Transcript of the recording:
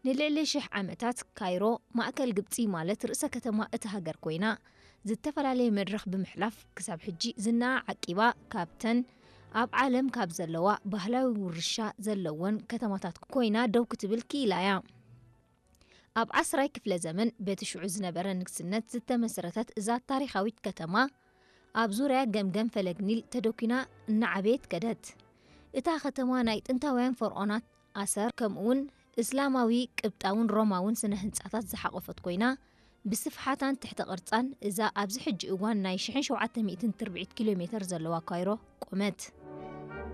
ንልዕሊ ሽሕ ዓመታት ካይሮ ማእከል ግብጺ፣ ማለት ርእሰ ከተማ እታ ሃገር ኮይና፣ ዝተፈላለየ መድረኽ ብምሕላፍ ክሳብ ሕጂ ዝናኣ ዓቂባ፣ ካብተን ኣብ ዓለም ካብ ዘለዋ ባህላዊ ውርሻ ዘለወን ከተማታት ኮይና ደው ክትብል ክኢላ እያ። ኣብ ዓስራይ ክፍለ ዘመን በቲ ሽዑ ዝነበረ ንግስነት ዝተመስረተት እዛ ታሪኻዊት ከተማ፣ ኣብ ዙርያ ገምገም ፈለግ ኒል ተደኲና እናዓበየት ከደት። እታ ከተማ ናይ ጥንታውያን ፈርዖናት ኣሰር፣ ከምኡውን እስላማዊ፣ ቅብጣውን ሮማውን ስነ ህንጻታት ዝሓቖፈት ኮይና፣ ብስፍሓታን ትሕተ ቅርጻን እዛ ኣብዚ ሕጂ እዋን ናይ ሽሕን ሸውዓተ ሚእትን ትርብዒት ኪሎ ሜተር ዘለዋ ካይሮ ቆመት።